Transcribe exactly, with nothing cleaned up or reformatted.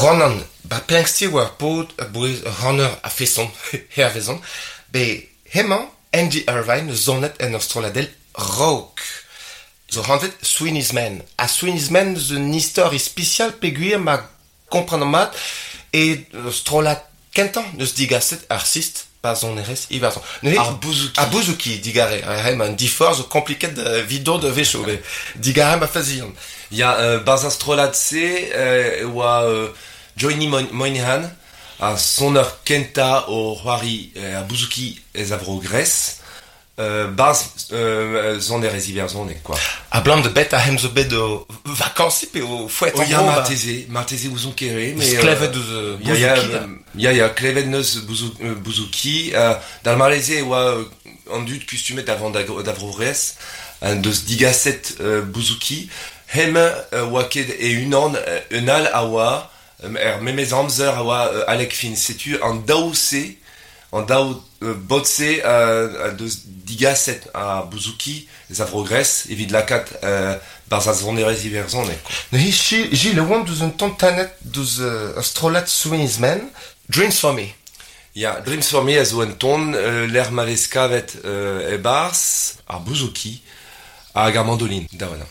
Ronan, ba Planxty oa ar paotr a bouez ur c'haner a-feson, hervezon, be hemañ Andy Irvine eus zonet en ur strolladell rock. Zo hanvet Sweeney's Men. Ha Sweeney's Men zo un istor ispisial peogwir ma kompren mat e strollad kentañ neus digaset ar sistr pa sonerezh Iwerzhon. Neuze Ar bouzouki. Ar bouzouki, digare. Ha ma un diforc'h zo kompliket vidon da wechoù. Digare ma fazian. Ya, euh, barzh ar strollad-se euh, e oa euh, Johnny Moynihan, ar soner kentañ o c'hoari euh, ar bouzouki ez a vro Gres, euh, barzh euh, sonerezh iwerzhonek, quoi. Abalamour da bet a hem zo bet o vakansi pe o fouet O en ya, bro, ba. marteze, marteze ouzon kere, mais... Klevet eus euh, Ya, ya, bouzouki, da. euh, ya, ya, klevet neus bouzou, euh, bouzouki, euh, d'ar mareze e oa euh, an dud kustumet da vont da, da vro Vres, an deus digaset euh, bouzouki, hem euh, oa ket e unan euh, un all a oa, euh, er memez amzer a oa euh, Alec Finn, setu an daou-se, an daou euh, bot-se euh, deus digaset a bouzouki ez a vro Gres, evit lakaat euh, barzh ar sonerezh iwerzhonek, quoi. Neuze Gilles Gilles e oan deus un tamm tanet deus euh, ur strollad Sweeney's Men, Dreams for Me. Ya, Dreams for Me a zo un ton euh, l'er ma vez kavet euh, e barzh ar bouzouki hag ar mandoline, da wana.